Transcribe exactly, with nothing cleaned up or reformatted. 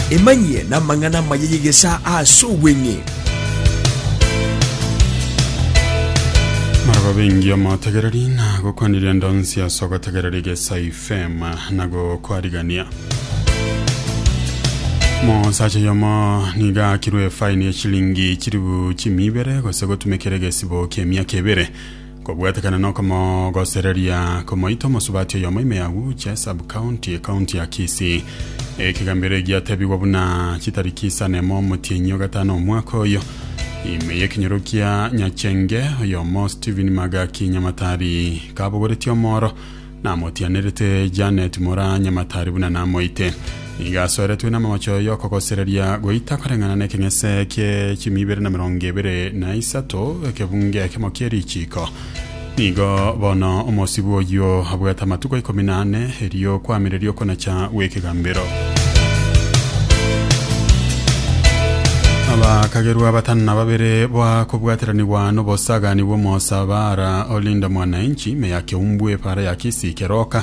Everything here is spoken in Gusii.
Emanyie namang'ana amaya y'egesaa ase obweng'e. Maraba bengi omotegereri na gokwaniria ndonsi ase ogotegereri gesa F M na gokwarigania mosacha yomo niga akirwe efaini ya chilingi chiribu chimibere gose gotumekera egesibo kia emiaka ebere kobwatekana nokomogosereria komoita omosubati oyomo ime ya Gucha sub county, ekaunti ya Kisii. Ekegambero egiatebigwa buna chitariki isano emo omotienyi ogatano omwaka oyo ime yekenyoro kia Nyachenge, oyomo Stephen Magaki Nyamatari kabogoretie omoro namotianerete Janet Mora Nyamatari buna namoite. Niga asoeretwe na amamocho yokogosereria goita koreng'ana na ekeng'ese kie chimia ibere na mirongo ebere na isato ekebunge ekemo kie richiko. Nigo bono omosibu oyo abwate amatuko ikomi na ane erio kwamireria okonacha gw'ekegambero. Abakagerwa batano na babere bwakobwateranigwa n'obosagani bw'omosabara olinda mwananchi ime ya Keumbwe para ya Kisii Keroka.